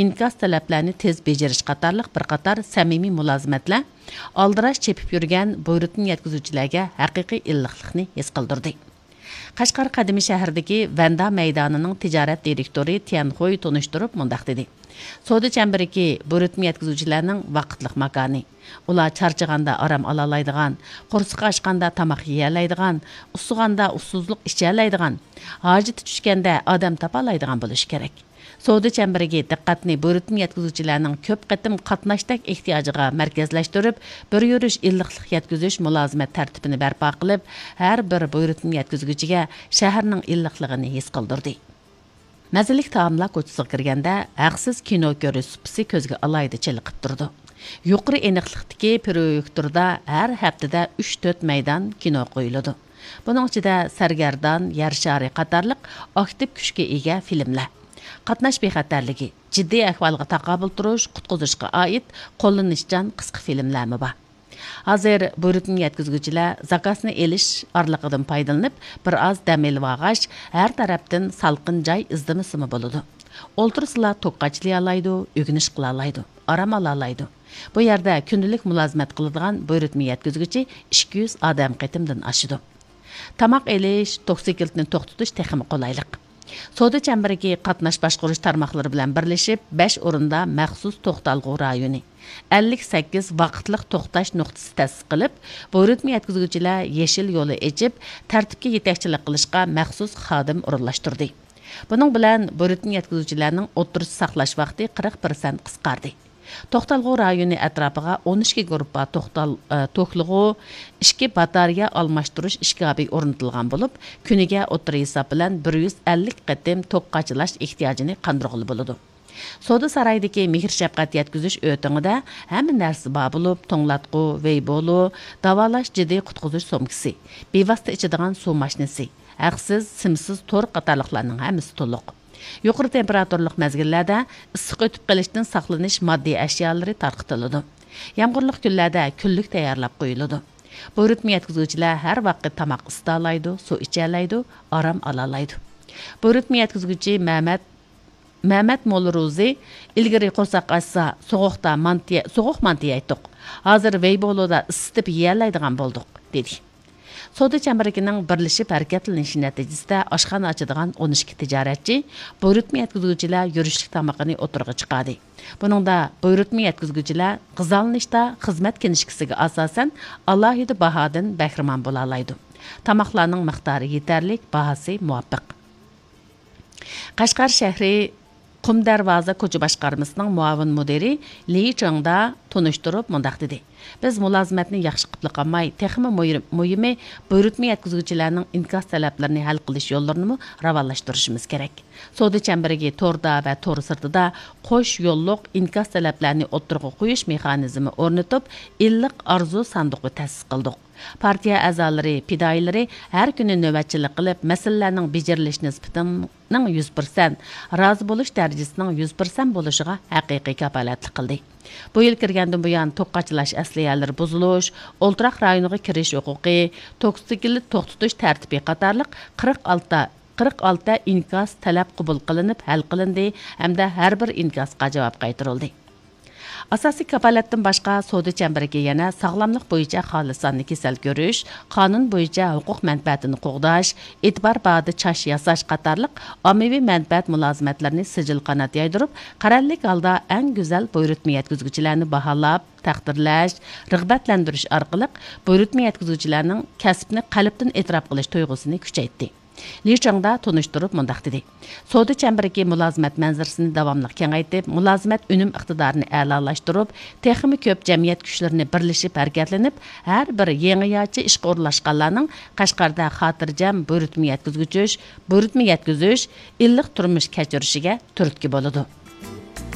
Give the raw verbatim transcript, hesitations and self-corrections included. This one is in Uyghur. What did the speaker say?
ئىنكاس تەلەپلەرنى تېز بېجىرىش قاتارلىق بىر قاتار سەمىمىي مۇلازىمەتلەر ئالدىراش چېپىپ يۈرگەن بۇيرۇتما يەتكۈزگۈچىلەرگە ھەقىقىي ئىللىقلىقنى ھېس قىلدۇردى. قەشقەر قەدىمىي شەھىرىدىكى ۋەندا مەيدانىنىڭ تىجارەت دىرېكتورى تيەن خۇي تونۇشتۇرۇپ مۇنداق دېدى: سودا چەمبىرىكى بۇيرۇتما يەتكۈزگۈچىلەرنىڭ ۋاقىتلىق ماكانى. ئۇلار چارچىغاندا ئارام ئالالايدىغان، قورسىقى ئاچقاندا تاماق يېيەلەيدىغان، ئۇسسىغاندا ئۇسسۇزلۇق ئىچەلەيدىغان، ھاجىتى چۈشكەندە ئادەم تاپالايدىغان بولۇشى كېرەك. سودا چەمبىرىكى دىققەتنى بۇيرۇتما يەتكۈزگۈچىلەرنىڭ كۆپ قېتىم قاتناشتەك ئېھتىياجىغا مەركەزلەشتۈرۈپ، بىر يۈرۈش ئىللىقلىق يەتكۈزۈش مۇلازىمەت تەرتىپىنى بەرپا قىلىپ، ھەر بىر بۇيرۇتما يەتكۈزگۈچىگە شەھەرنىڭ ئىللىقلىقىنى ھېس قىلدۇردى. مەززىلىك تائاملار كوچىسىغا كىرگەندە، ھەقسىز كىنو كۆرۈش سۇپىسى كۆزگە ئالاھىدە چېلىقىپ تۇرىدۇ. يۇقىرى ئېنىقلىقتىكى پرويېكتوردا ھەر ھەپتىدە ئۈچ تۆت مەيدان كىنو قويۇلىدۇ. بۇنىڭ ئىچىدە سەرگەردان، يەر شارى قاتارلىق ئاكتىپ كۈچكە ئىگە فىلىملەر، قاتناش بىخەتەرلىكى، جىددىي ئەھۋالغا تاقابىل تۇرۇش، قۇتقۇزۇشقا ئائىت قوللىنىشچان قىسقا فىلىملەرمۇ بار. ھازىر بۇيرۇتما يەتكۈزگۈچىلەر زاكازنى ئېلىش ئارىلىقىدىن پايدىلىنىپ، بىر ئاز دەم ئېلىۋالغاچ، ھەر تەرەپتىن سالقىن جاي ئىزدىمىسىمۇ بولىدۇ. ئولتۇرسىلا توك قاچىلىيالايدۇ، ئۆگىنىش قىلالايدۇ، ئارام ئالالايدۇ. بۇ يەردە كۈندىلىك مۇلازىمەت قىلىدىغان بۇيرۇتما يەتكۈزگۈچى ئىككى يۈز ئادەم قېتىمدىن ئاشىدۇ. تاماق ئېلىش، توكسىكلىتنى توختىتىش تېخىمۇ قولايلىق. سودا چەمبىرىكى قاتناش باشقۇرۇش تارماقلىرى بىلەن بىرلىشىپ، بەش ئورۇندا مەخسۇس توختالغۇ رايونى، ئەللىك سەككىز ۋاقىتلىق توختاش نۇقتىسى تەسىس قىلىپ، بۇيرۇتما يەتكۈزگۈچىلەر يېشىل يولى ئېچىپ، تەرتىپكە يېتەكچىلىك قىلىشقا مەخسۇس خادىم ئورۇنلاشتۇردى. بۇنىڭ بىلەن بۇيرۇتما يەتكۈزگۈچىلەرنىڭ ئوتتۇرىچە ساقلاش ۋاقتى قىرىق پىرسەنت قىسقاردى. توختالغۇ رايونى ئەتراپىغا ئون ئىككى گۇرۇپپا توختال-، ئە، توكلىغۇ، ئىككى باتارېيە ئالماشتۇرۇش ئىشكاپى ئورنىتىلغان بولۇپ، كۈنىگە ئوتتۇرا ھېساب بىلەن بىر يۈز ئەللىك قېتىم توك قاچىلاش ئېھتىياجىنى قاندۇرغىلى بولىدۇ. سودا سارايىدىكى مېھىر-شەپقەت يەتكۈزۈش ئۆتىڭىدە ھەممە نەرسە بار بولۇپ، توڭلاتقۇ، ۋېيبولو، داۋالاش جىددىي قۇتقۇزۇش سومكىسى، بىۋاسىتە ئىچىدىغان سۇ ماشىنىسى، ھەقسىز، سىمسىز تور قاتارلىقلارنىڭ ھەممىسى تولۇق. يۇقىرى تېمپېراتۇرىلىق مەزگىللەردە ئىسسىق ئۆتۈپ قېلىشتىن ساقلىنىش ماددىي ئەشيالىرى تارقىتىلىدۇ. يامغۇرلۇق كۈنلەردە كۈنلۈك تەييارلاپ قويۇلىدۇ. بۇيرۇتما يەتكۈزگۈچىلەر ھەر ۋاقىت تاماق ئىسىتالايدۇ، سۇ ئىچەلەيدۇ، ئارام ئالالايدۇ. بۇيرۇتما يەتكۈزگۈچى مەمەت، مەمەت موللا روزى ئىلگىرى قورساق ئاچسا، سوغۇقتا مانتى، سوغۇق مانتى يەيتتۇق. ھازىر ۋېيبولودا ئىسسىتىپ يېيەلەيدىغان بولدۇق، دېدى. سودا چەمبىرىكىنىڭ بىرلىشىپ ھەرىكەتلىنىشى نەتىجىسىدە ئاشخانا ئاچىدىغان ئون ئىككى تىجارەتچى بۇيرۇتما يەتكۈزگۈچىلەر يۈرۈشلۈك تامىقىنى ئوتتۇرىغا چىقاردى. بۇنىڭدا بۇيرۇتما يەتكۈزگۈچىلەر غىزالىنىشتا خىزمەت كىنىشكىسىگە ئاساسەن ئالاھىدە باھادىن بەھرىمەن بولالايدۇ. تاماقلارنىڭ مىقدارى يېتەرلىك، باھاسى مۇۋاپىق. قەشقەر شەھىرى قۇم دەرۋازا كوچا باشقارمىسىنىڭ مۇئاۋىن مۇدىرى لى چېڭدا تونۇشتۇرۇپ مۇنداق دېدى: بىز مۇلازىمەتنى ياخشى قىپلا قالماي، تېخىمۇ مۇيىر-، مۇھىمى بۇيرۇتما يەتكۈزگۈچىلەرنىڭ ئىنكاس تەلەپلىرىنى ھەل قىلىش يوللىرىنىمۇ راۋانلاشتۇرۇشىمىز كېرەك. سودا چەمبىرىكى توردا ۋە تور سىرتىدا قوش يوللۇق ئىنكاس تەلەپلەرنى ئوتتۇرىغا قويۇش مېخانىزمى ئورنىتىپ، ئىللىق ئارزۇ ساندۇقى تەسىس قىلدۇق. پارتىيە ئەزالىرى، پىدائىيلىرى ھەر كۈنى نۆۋەتچىلىك قىلىپ، مەسىلىلەرنىڭ بېجىرىلىش نىسبىتىنىڭ يۈز پىرسەنت، رازى بولۇش دەرىجىسىنىڭ يۈز پىرسەنت بولۇشىغا ھەقىقىي كاپالەتلىك قىلدى. بۇ يىل كىرگەندىن بۇيان، توك قاچىلاش ئەسلىھەلىرى بۇزۇلۇش، ئولتۇراق رايونىغا كىرىش ھوقۇقى، توكسىكلىت توختىتىش تەرتىپى قاتارلىق قىرىق ئالتە، قىرىق ئالتە ئىنكاس تەلەپ قوبۇل قىلىنىپ ھەل قىلىندى ھەمدە ھەر بىر ئىنكاسقا جاۋاب قايتۇرۇلدى. ئاساسىي كاپالەتتىن باشقا، سودا چەمبىرىكى يەنە ساغلاملىق بويىچە خالىساننى كېسەل كۆرۈش، قانۇن بويىچە ھوقۇق مەنپەئەتىنى قوغداش، ئېتىبار باھادا چاچ ياساش قاتارلىق ئاممىۋى مەنپەئەت مۇلازىمەتلىرىنى سىجىل قانات يايدۇرۇپ، قەرەللىك ھالدا ئەڭ گۈزەل بۇيرۇتما يەتكۈزگۈچىلەرنى باھالاپ، تەقدىرلەش، رىغبەتلەندۈرۈش ئارقىلىق بۇيرۇتما يەتكۈزگۈچىلەرنىڭ كەسىپنى قەلبتىن ئېتىراپ قىلىش تۇيغۇسىنى كۈچەيتتى. لى چاڭدا تونۇشتۇرۇپ مۇنداق دېدى: سودا چەمبىرىكى مۇلازىمەت مەنزىرىسىنى داۋاملىق كېڭەيتىپ، مۇلازىمەت ئۈنۈم ئىقتىدارىنى ئەلالاشتۇرۇپ، تېخىمۇ كۆپ جەمئىيەت كۈچلىرىنى بىرلىشىپ ھەرىكەتلىنىپ، ھەر بىر يېڭىچە ئىشقا ئورۇنلاشقانلارنىڭ قەشقەردە خاتىرجەم بۇيرۇتما يەتكۈزگۈچۈش، بۇيرۇتما يەتكۈزۈش، ئىللىق تۇرمۇش كەچۈرۈشىگە تۈرتكە بولىدۇ.